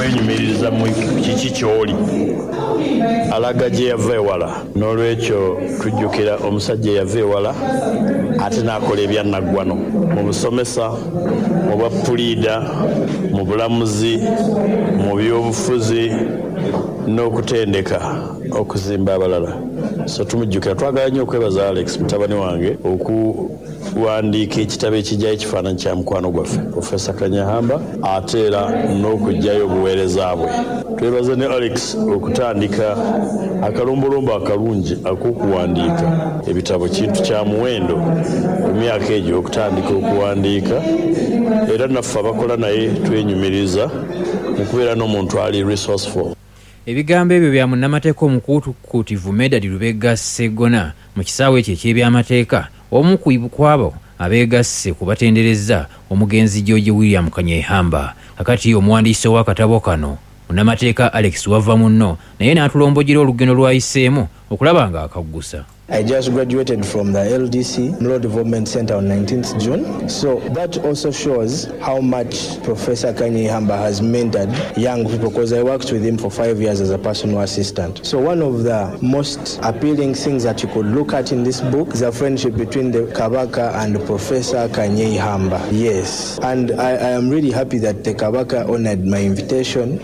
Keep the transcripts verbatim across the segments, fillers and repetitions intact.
Okwenyumiririza mu kiki ky'oli alaga gye yava ewala. N'olwekyo tujjukira omusajja eyava ewala ate n'akola ebyannaggwano mu busomesa, mu bwa puliida, mu bulamuzi, mu byobufuzi n'okutendeka okuzimba abalala. So tumujjukira. Twagala nnyo okwebaza Alex mutabani wange okuwandiika ekitabo ekijjayo ekifaananyi kya mukwano gwaffe Profesa Kanyeihamba, ate era n'okuggyayo obuweereza bwe. Twebaza ne Alex okutandika akalombolombo akalungi ak'okuwandiika ebitabo. Kintu kya muwendo mu myaka egyo okutandika okuwandiika, era naffe abakola naye twenyumiriza mu kubeera n'omuntu ali resourceful. Ebigambo ebyo bya munnamateeka omukuukuutivu Medard Lubega Sseggona mu kisaawe ekyo eky'ebyamateeka, omu ku abo abeegasse ku batenderezza omugenzi George William Kanyeihamba. Kakati omuwandiisi w'akatabo kano, munnamateeka Alex Wavamunno, naye n'atulombojera olugendo lw'ayiseemu okulaba nga akaggusa. I just graduated from the L D C, Law Development Center, on nineteenth June. So that also shows how much Professor Kanyeihamba has mentored young people, because I worked with him for five years as a personal assistant. So one of the most appealing things that you could look at in this book is a friendship between the Kabaka and Professor Kanyeihamba. Yes. And I, I am really happy that the Kabaka honored my invitation.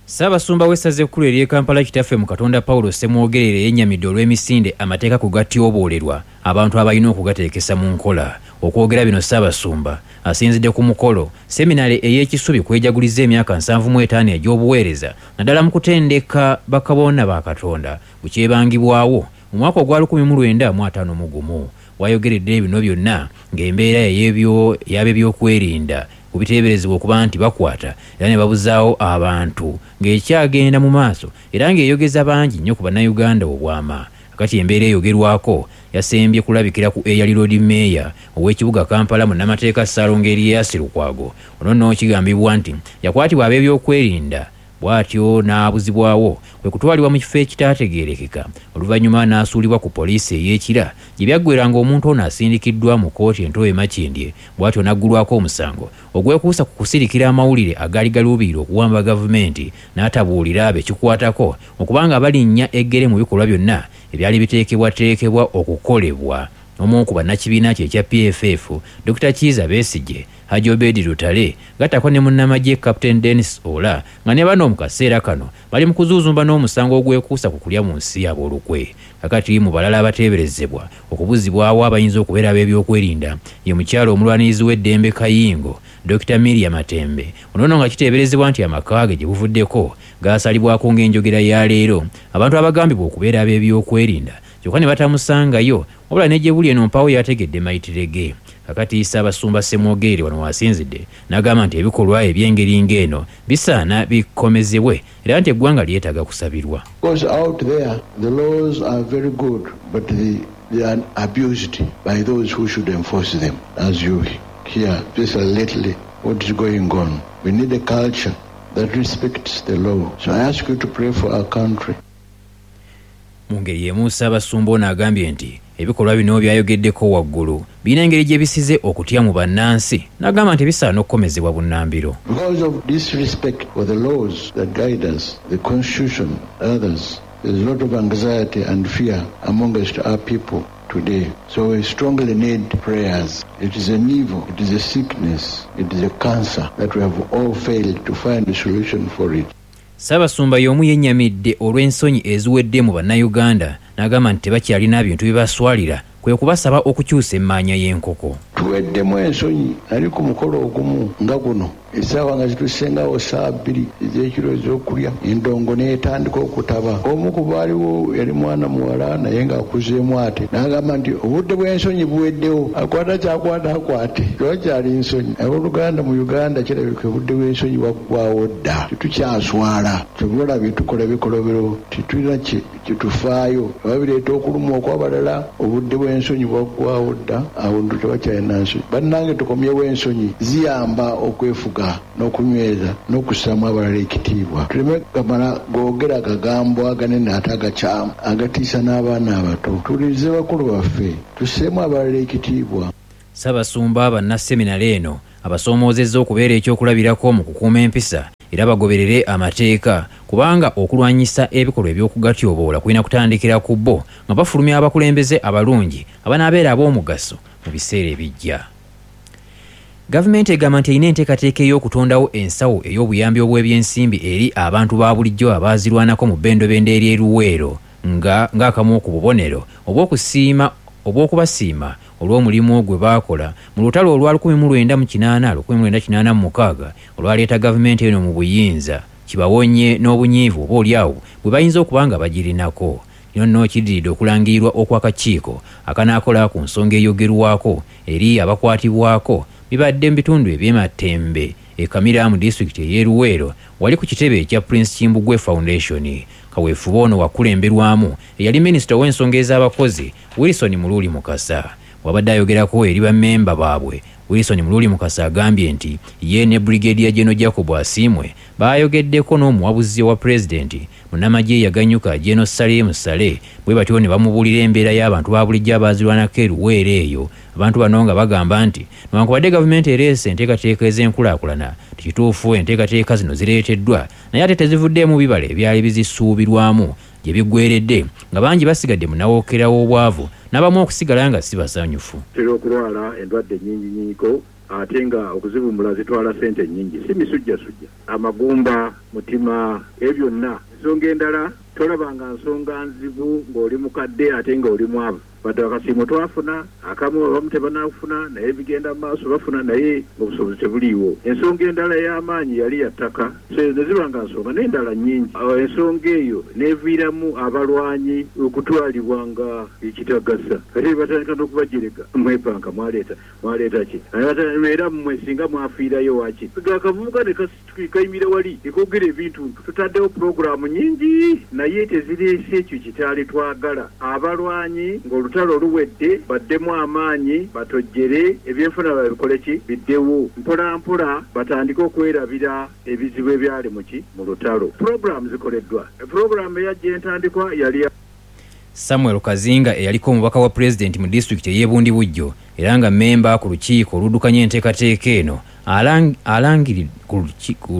Ssaabasumba w'essaza ekkulu ery'e Kampala, Kitaffe mu Katonda Pawulo Ssemwogerere, yennyamidde olw'emisinde amateeka ku gatyoboolерwa abantu abalina okugateekesa mu nkola. Okwogera bino, Ssaabasumba asinzidde ku mukolo seminale ey'Ekisubi kwejaguliza emyaka nsanvu mu etaano egy'obuweereza, naddala mu kutendeka bakabona ba Katonda, bukyebangibwawo mu mwaka ogwa lukumi mu lwenda mu ataano mu gumu. Wayogeredde bino byonna ng'embeera ey'ab'ebyokwerinda kubiteeberezebwa okuba nti bakwata era ne babuzaawo abantu ng'ekyagenda mu maaso, era ng'eyogeza bangi nnyo ku Bannayuganda obwama. Kakati embeera eyogerwako yasembye kulabikira ku eyali Lord Mayor ow'ekibuga Kampala, munnamateeka Ssaalongo Erias Lukwago. Ono nno kigambibwa nti yakwatibwa ab'ebyokwerinda, bw'atyo n'abuzibwawo, kwe kutwalibwa mu kifo ekitaategeerekeka, oluvannyuma n'asuulibwa ku poliisi ey'Ekira, gye byaggweranga omuntu ono asindikiddwa mu kkooti ento e Makindye, bw'atyo n'aggulwako omusango ogwekuusa ku kusirikira amawulire agaali galuubirira okuwamba gavumenti, n'atabuulira abo ekikwatako okubanga balinnya eggere mu bikolwa byonna ebyali biteekebwateekebwa okukolebwa omu ku bannakibiina kye ekya P F F, Doctor Kiiza Besigye, Haji Obedi Lutale, gattako ne munnamagye Captain Denis Ola, nga ne bano mu kaseera kano bali mu kuzuuzumba n'omusango ogwekuusa ku kulya mu nsi yaabwe olukwe. Kakati mu balala abateeberezebwa okubuzibwawo abayinza okubeera ab'ebyokwerinda ye mukyalo omulwanirizi w'eddembe Kayingo, Doctor Miria Matembe. Ono nno nga kiteeberezebwa nti amaka ge gye buvuddeko gaasalibwako ng'enjogera ya leero abantu abagambibwa okubeera ab'ebyokwerinda, kyokka ne batamusangayo, wabula ne gye buli eno mpawo yategedde mayitire ge. Kakati Ssaabasumba Ssemwogerere wano wasinzidde n'agamba nti ebikolwa eby'engeri ng'eno bisaana bikomezebwe, era nti eggwanga lyetaaga kusabirwa. Because out there, the laws are very good, but they, they are abused by those who should enforce them. As you hear, especially lately, what is going on. We need a culture that respects the law. So I ask you to pray for our country. Mu ngeri y'emu, Ssaabasumba ono agambye nti ebikolwa bino byayogeddeko waggulu birina engeri gye bisize okutya mu bannansi, n'agamba nti bisaana okukomezebwa bunnambiro. Because of disrespect for the laws that guide us, the constitution, others, there's a lot of anxiety and fear amongst our people today. So we strongly need prayers. It is an evil, it is a sickness, it is a cancer that we have all failed to find a solution for it. Ssaabasumba y'omu yennyamidde olw'ensonyi eziwedde mu Bannayuganda, n'agamba nti tebakyalina bintu bibaswalira, kwe kubasaba okukyusa emmaanya y'enkoko. Tuweddemu ensonyi. Nali ku mukolo ogumu nga guno, essaawa nga zitusengawo saa bbiri ez'ekiro ez'okulya, endongo n'etandika okutaba. Omu ku baaliwo yali mwana muwala naye ng'akuzeemu ate, n'agamba nti obudde bw'ensonyi buweddewo, akwata kyakwata akwate, tewakyali nsonyi. Abooluganda, mu Uganda kirabika obudde bw'ensonyi bwaggwawo dda, tetukyaswala. Kyova olabye tukola ebikolobero, tetulina kyetufaayo oba bireeta okulumwa okw'abalala. Obudde bw'ensonyi bwaggwawo dda, abantu tebakyalina nsonyi. Bannange, tukomyewo ensonyi, ziyamba okwefuga n'okunyweza n'okussaamu abalala ekitiibwa, tuleme gamala googera agagambo aganene ate agakyamu agatiisa n'abaana abato. Tuwulirize bakulu baffe, tusseemu abalala ekitiibwa. Ssaabasumba bannaseminale eno abasoomoozezza okubeera ekyokulabirako mu kukuuma empisa. Era bagoberere amateeka, kubanga okulwanyisa ebikolwa eby'okugatyoboola kulina kutandikira ku bo nga bafulumya abakulembeze abalungi abanaabeera ab'omugaso mu biseera ebijja. Gavumenti egamba nti erina enteekateeka ey'okutondawo ensawo ey'obuyambi obw'ebyensimbi eri abantu ba bulijjo abaazirwanako mu bbendobendo ery'e Luweero nga ng'akamu ku bubonero obw'okusiima obw'okubasiima olw'omulimu gwe baakola mu lutalo olwa lukumi mu lwenda mu kinaana lukumi mu lwenda kinaana mu mukaaga olwaleeta gavumenti eno mu buyinza, kibawonye n'obunyiivu oba oliawo bwe bayinza okuba nga bagirinako. Kino nno kiddiridde okulangirirwa okw'akakiiko akanaakola ku nsonga eyogerwako eri abakwatibwako bibadde mu bitundu eby'e Matembe e Kamira mu disitulikiti ey'e Luweero wali ku kitebe ekya Prince Kimbugwe Foundation. Kaweefube ono wakulemberwamu eyali minisita ow'ensonga ez'abakozi Wilson Muluuli Mukasa. Bw'abadde ayogerako eri bammemba baabwe, Wilson Muluuli Mukasa agambye nti ye ne Brigadier General Jacob Asiimwe baayogeddeko n'omuwabuzi wa pulezidenti munnamagye yaganyuka General Salim Saleh, bwe batyo ne bamubuulira embeera y'abantu ba bulijjo abaazirwanako e Luweero eyo. Abantu bano nga bagamba nti newankubadde gavumenti ereese enteekateeka ez'enkulaakulana, tekituufu enteekateeka zino zireeteddwa naye ate tezivuddeemu bibala ebyali bizisuubirwamu gye biggweredde, nga bangi basigadde mu nawookera w'obwavu n'abamu okusigala nga si basanyufu. Tutera okulwala endwadde nnyingi nnyingiko ate nga okuzivumbula zitwala ssente nnyingi, si misujjasujja, amagumba, mutima, ebyo byonna. Ensonga endala tolabanga nsonga nzibu ng'oli mukadde ate ng'oli mwavu. Wadde akasiimo twafuna akamu, abamu tebanafuna, naye bigenda mu maaso bafuna, naye obusobozi tebuliiwo. Ensonga endala ey'amaanyi yali ya ttaka, so ne ziba nga nsonga n'endala nnyingi. Ensonga eyo n'eviiramu abalwanyi okutwalibwa nga ekitagasa, ate batandika n'okubajerega, mwepanka mwaleeta mwaleeta ki, era mmwe singa mwafiirayo waki. Akavubuka ne kayimira wali ekogera ebintu. Tutaddewo pulogulaamu nnyingi naye tezireese ekyo kitaali twagala. Abalwanyi ng'olutalo luwedde baddemu amaanyi, batojjere ebyenfuna babikole ki biddewo mpola mpola, batandike okwerabira ebizibu ebyali muki mu lutalo. Pulogulaamu zikoleddwa. Pulogulaamu eyajja entandikwa yali Samuel Kazinga eyaliko omubaka wa pulezidenti mu disitulikiti ey'e Bundibugyo era nga mmemba ku lukiiko oluddukanya enteekateeka eno alangiri ku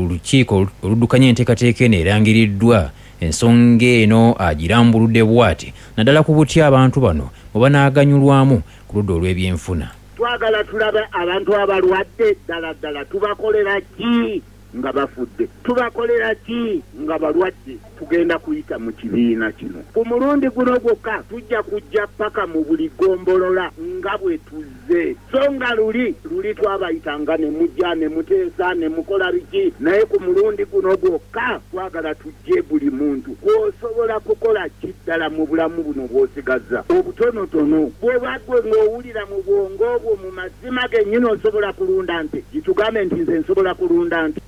lukiiko oluddukanya enteekateeka eno erangiriddwa. Ensonga eno agirambuludde bw'ati naddala ku butya abantu bano bwe banaaganyulwamu ku ludda olw'ebyenfuna. Twagala tulabe abantu abalwadde ddala ddala tubakolera ki nga bafudde, tubakolera ki nga balwadde. Tugenda kuyita mu kibiina kino ku mulundi guno gwokka, tujja kujja paka mu buli ggombolola nga bwe tuzze. So nga luli luli twabayitanga ne mujja ne muteesa ne mukola biki, naye ku mulundi guno gwokka twagala tujje buli muntu gw'osobola kukola ki ddala mu bulamu buno bw'osigazza obutonotono. Bw'oba gwe ng'owulira mu bwongo bwo mu mazima gennyini osobola kulunda nte, gitugambe nti nze nsobola kulunda nte.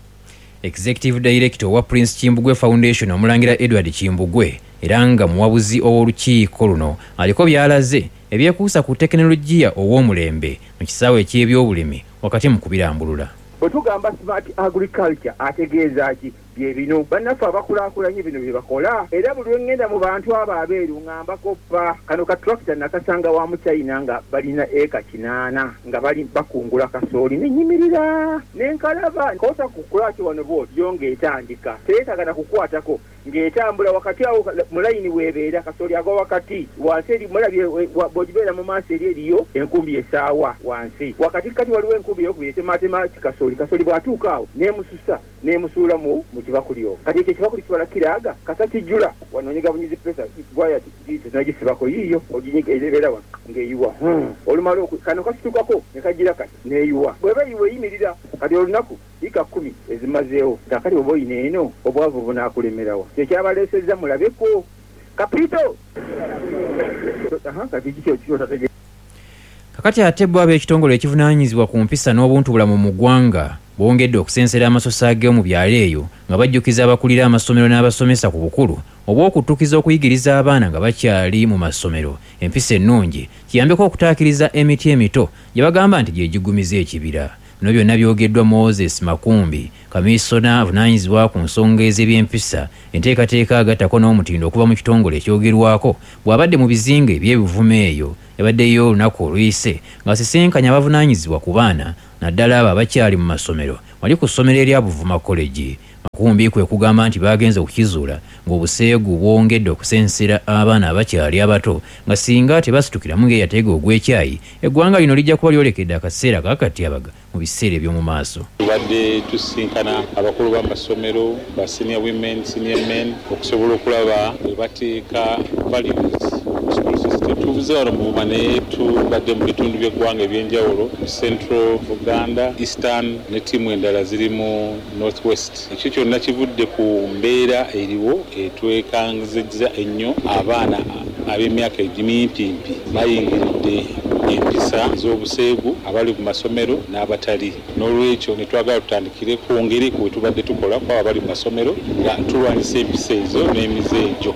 Executive Director wa Prince Kimbugwe Foundation omulangira Edward Kimbugwe era nga muwabuzi ow'olukiiko luno aliko by'alaze ebyekuusa ku tekinologiya ow'omulembe mu kisaawe eky'ebyobulimi wakati mu kubirambulula. Bwe tugamba smart agriculture ategeeza ki? Bye bino bannaffe abakulaakulanye bino bye bakola. Era buli lwe ŋŋenda mu bantu abo abeeru ŋŋamba koppa kano ka tractor nakasanga wa mu China nga balina eka kinaana nga bali bakungula kasooli, ne nnyimirira ne nkalaba kosa ku kulaki wano bw'oti yo ng'etandika teyeetaaga na kukwatako ng'etambula wakati awo mu layini weebeera kasooli agwa wakati wansi eri mulabye bw'ogibeera mu maaso eri eriyo enkumbi esaawa wansi wakati kati waliwo enkumbi eyokubiri etemaatema kasooli. Kasooli bw'atuuka awo n'emususa n'emusuula mu mu kibakuli omwo. Kati ekyo ekibakuli kibala kiraaga kasa kijjula wano onyiga bunyizi pesa gwaya tunagisibako yiiyo oginyiga ebeera wano ng'eyiwa. Olumala kano kasitukako ne kagira kati n'eyiwa bw'eba eyiwa eyimirira kati olunaku ika kkumi ezimazeewo. Kaakati oba oyina eno obwavu bunaakulemerawa. Kyekyabaleesezza mulabeko kapito. Kati kiki kyotategeera. Kakati ate bo ab'ekitongole ekivunaanyizibwa ku mpisa n'obuntubulamu mu ggwanga bongedde okusensera amasosa ag'omu byalo eyo nga bajjukiza abakulira amasomero n'abasomesa ku bukulu obw'okuttukiza okuyigiriza abaana nga bakyali mu masomero empisa ennungi kiyambeko okutaakiriza emiti emito gye bagamba nti gye gigumiza ekibira. Bino byonna byogeddwa Moses Makumbi, kamisona avunaanyizibwa ku nsonga ez'ebyempisa, enteekateeka agattako n'omutindo okuva mu kitongole ekyogerwako bw'abadde mu bizinga eby'ebivumo eyo. Yabaddeyo olunaku oluyise ng'asisinkanye abavunaanyizibwa ku baana naddala abo abakyali mu masomero wali ku ssomero erya Buvuma College. Makumbi kwe kugamba nti bagenze okukizuula ng'obuseegu bwongedde okusensera abaana abakyali abato nga singa tebasitukiramu ng'eyateega ogw'ekyayi, eggwanga lino lijja kuba lyolekedde akaseera ak'akatyabaga mu biseera eby'omu maaso. Tubadde tusisinkana abakulu b'amasomero ba senior women, senior men okusobola okulaba bwe bateeka values mu school system. Tuvuze wano mu Buvuma naye tubadde mu bitundu by'eggwanga eby'enjawulo mu Central Uganda, Eastern ne ttiimu endala ziri mu North West. Ekyo kyonna kivudde ku mbeera eriwo etwekanzizza ennyo. Abaana ab'emyaka egimimpimpi bayingiridde empisa ez'obuseegu abali ku masomero n'abatali. N'olwekyo ne twagala tutandikire kwongere ku bwe tubadde tukola ku abo abali mu masomero nga tulwanyisa empisa ezo n'emize egyo.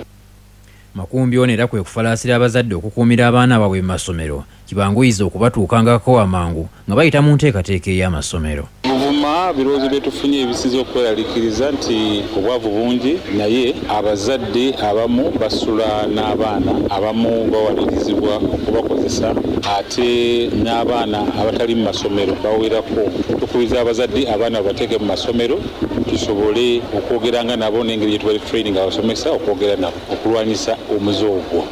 Makumbi ono era kwe kufalaasira abazadde okukuumira abaana baabwe mu masomero kibanguyiza okubatuukangako amangu nga bayita mu nteekateeka ey'amasomero. Buvuma birowoozo bye tufunye ebisinze okweraliikiriza nti obwavu bungi, naye abazadde abamu basula n'abaana, abamu bawalirizibwa okubakozesa, ate n'abaana abatali mu masomero bawerako. Tukubiriza abazadde abaana babateeke mu masomero tusobole okwogeranga nabo n'engeri gye tubadde training abasomesa okwogera nabo okulwanyisa omuze ogwo.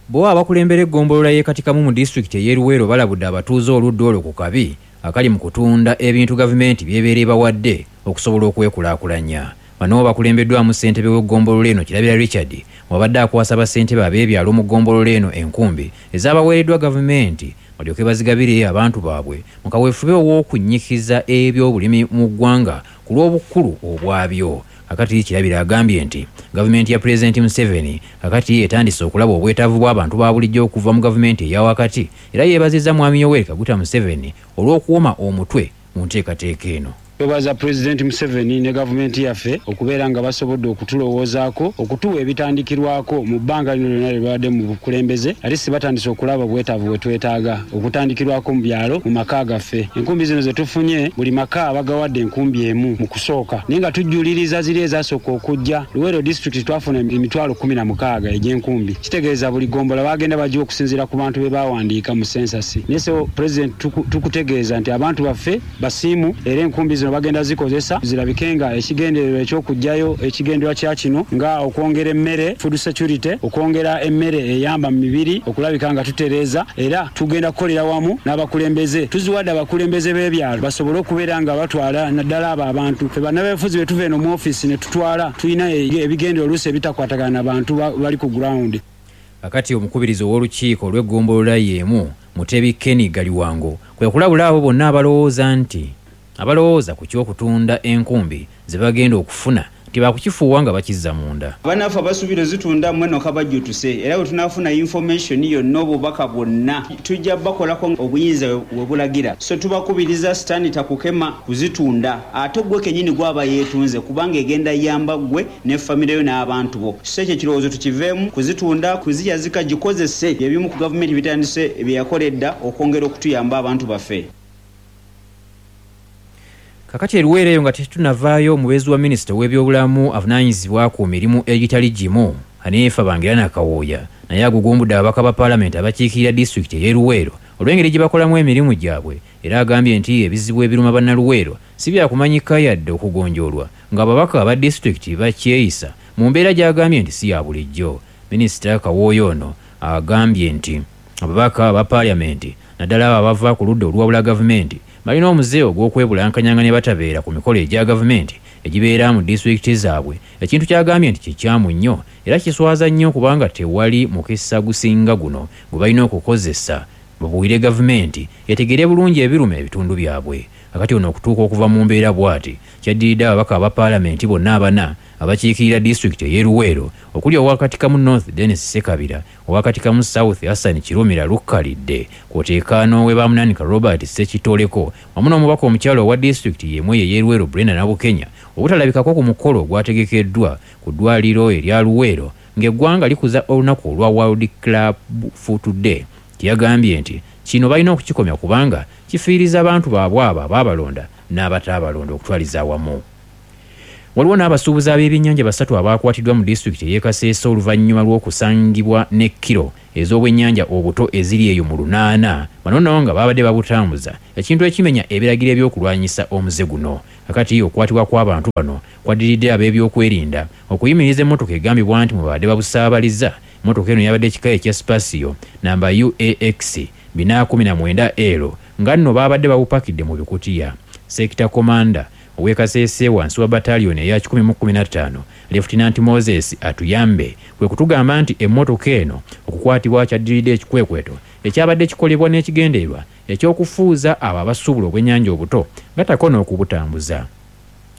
Bo abakulembera eggombolola y'e Katikamu mu disitulikiti ey'e Luweero balabudde abatuuze oludda olwo ku kabi akali mu kutunda ebintu gavumenti by'ebeera ebawadde okusobola okwekulaakulanya. Bano bakulembeddwamu ssentebe w'eggombolola eno Kirabira Richard wabadde akwasa bassentebe ab'ebyalo mu ggombolola eno enkumbi ezaabaweereddwa gavumenti balyoke bazigabire abantu baabwe mu kaweefube ow'okunnyikiza ebyobulimi mu ggwanga ku lw'obukulu obwabyo. Kakati Kirabira agambye nti gavumenti ya Pulezidenti Museveni kakati etandise okulaba obwetaavu bw'abantu ba bulijjo okuva mu gavumenti eya wakati, era yeebazizza Mwami Yoweri Kaguta Museveni olw'okuwoma omutwe mu nteekateeka eno. Twebaza Pulezidenti Museveni ne gavumenti yaffe okubeera nga basobodde okutulowoozaako okutuwa ebitandikirwako mu bbanga lino lyonna lye babadde mu bukulembeze, ate si batandise okulaba obwetaavu bwe twetaaga okutandikirwako mu byalo mu maka gaffe. Enkumbi zino ze tufunye buli maka bagawadde enkumbi emu mu kusooka, naye nga tujjuliriza ziri ezasooka okujja. Luweero disitulikiti twafuna emitwalo kkumi na mukaaga egy'enkumbi, kitegeeza buli gombola bagenda bagiwa okusinziira ku bantu be bawandiika mu sensasi. Naye so Pulezidenti tukutegeeza nti abantu baffe basiimu era enkumbi zino bagenda zikozesa zirabike nga ekigendererwa eky'okuggyayo ekigendererwa kya kino nga okwongera emmere, food security, okwongera emmere eyamba mu mibiri okulabika nga tutereeza, era tugenda kukolera wamu n'abakulembeze. Tuziwadde abakulembeze b'ebyalo basobole okubeera nga batwala naddala abo abantu. Ffe bannabyabufuzi bwe tuva eno mu ofiisi ne tutwala tulina ebigendererwa oluusi ebitakwatagana na bantu bali ku ground. Kakati omukubirizi ow'olukiiko olw'eggombolola y'emu Mutebi Kenny Galiwango kwe kulabula abo bonna abalowooza nti abalowooza ku ky'okutunda enkumbi ze bagenda okufuna nti bakukifuuwa nga bakizza munda. Bannaffe abasuubira ozitunda mmwe nokabajjutuse, era bwe tunaafuna information yonna obubaka bwonna tujja bakolako obuyinza we bulagira. So tubakubiriza sitaani takukema kuzitunda, ate gwe kennyini gwaba yeetunze kubanga egenda yamba ggwe ne famire yo n'abantu bo. So ekyo ekirowoozo tukiveemu kuzitunda, kuziyazika, gikozese ebimu ku gavumenti bitandise bye yakola edda okwongera okutuyamba abantu baffe. Kakati eruweero eyo nga tetunavaayo, omubeezi wa minisita w'ebyobulamu avunaanyizibwa ku mirimu egitali gimu Hanifa Bangirana Kawooya naye agugumbudde ababaka ba paalamenti abakiikirira disitulikiti ey'e Luweero olw'engeri gye bakolamu emirimu gyabwe, era agambye nti ebizibu ebiruma bannaluweero si byakumanyika yadde okugonjoolwa ng'ababaka aba disitulikiti bakyeyisa mu mbeera gy'agambye nti si ya bulijjo. Minisita Kawooya ono agambye nti ababaka aba paalamenti naddala abo abava ku ludda oluwabula gavumenti balina omuze ogw'okwebulankanyanga ne batabeera ku mikolo egya gavumenti egibeera mu disitulikiti zaabwe, ekintu ky'agambye nti kikyamu nnyo era kiswaza nnyo kubanga tewali mukisa gusinga guno gwe balina okukozesa babuulire gavumenti etegeere bulungi ebiruma ebitundu byabwe. Kakati ono okutuuka okuva mu mbeera bw'ati kyaddiridde ababaka aba paalamenti bonna abana abakiikirira disitulikiti ey'e Luweero okuli owa Katikamu North Dennis Ssekabira, owa Katikamu South Hassan Kirumira Lukkalidde, kw'oteeka n'ow'e Bamunanika Robert Ssekitoleko wamu n'omubaka omukyala owa disitulikiti y'emu eyo ey'e Luweero Brenda Nabukenya obutalabikako ku mukolo ogwategekeddwa ku ddwaliro erya Luweero ng'eggwanga likuza olunaku olwa World Club Foot Day. Yagambye nti kino balina okukikomya kubanga kifiiriza abantu baabwe abo abaabalonda n'abataabalonda okutwaliza awamu. Waliwo n'abasuubuzi ab'ebyennyanja basatu abakwatiddwa mu disitulikiti ey'e Kasese oluvannyuma lw'okusangibwa ne kiro ez'obwennyanja obuto eziri eyo mu lunaana, bano nno nga babadde babutambuza, ekintu ekimenya ebiragiro ebyokulwanyisa omuze guno. Kakati okukwatibwa kw'abantu bano kwaddiridde ab'ebyokwerinda okuyimiriza emmotoka egambibwa nti mwe babadde babusaabaliza. Emmotoka eno yabadde ekika ekya Spacio namba U A X bina kumi na mwenda L nga nno babadde babupakidde mu bikutiya. Sector Commander ow'e Kasese wansi wa battalion eya kikumi mu kkumi na ttaano Lieutenant Moses Atuyambe kwe kutugamba nti emmotoka eno okukwatibwa kyaddiridde ekikwekweto ekyabadde kikolebwa n'ekigendererwa ekyokufuuza abo abasuubula obwennyanja obuto gattako n'okubutambuza.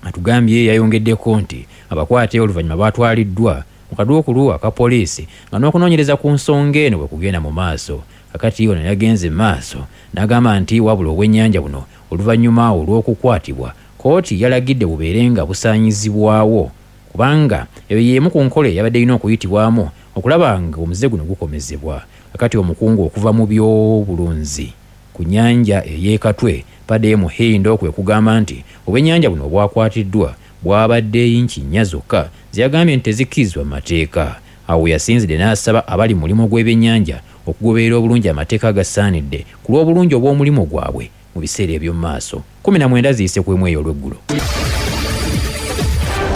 Atugambye yayongeddeko nti abakwate oluvannyuma batwaliddwa mu kaduukulu aka poliisi nga n'okunoonyereza ku nsonga eno bwe kugenda mu maaso. Kakati ono yagenze mu maaso n'agamba nti wabula obwennyanja buno oluvannyuma olw'okukwatibwa kkooti yalagidde bubeere nga busaanyizibwawo kubanga eyo y'emu ku nkola eyabadde erina okuyitibwamu okulaba nga omuze guno gukomezebwa. Kakati omukungu okuva mu by'obulunzi ku nnyanja ey'e Katwe Padde Muhindo kwe kugamba nti obwennyanja buno obwakwatiddwa bwabadde yinki nnya zokka zeyagambye nti tezikkirizibwa mu mateeka. Awo yasinzidde n'asaba abali mu mulimu gw'ebyennyanja okugoberera obulungi amateeka agasaanidde ku lw'obulungi obw'omulimu gwabwe mu biseera eby'omu maaso. Kumi na mwenda ziyise ku emu eyo olw'eggulo.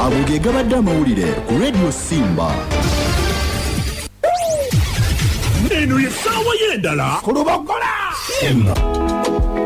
Ago ge gabadde amawulire ku Radio Simba. Eno ye ssaawa y'endala ku Lubogola. Simba.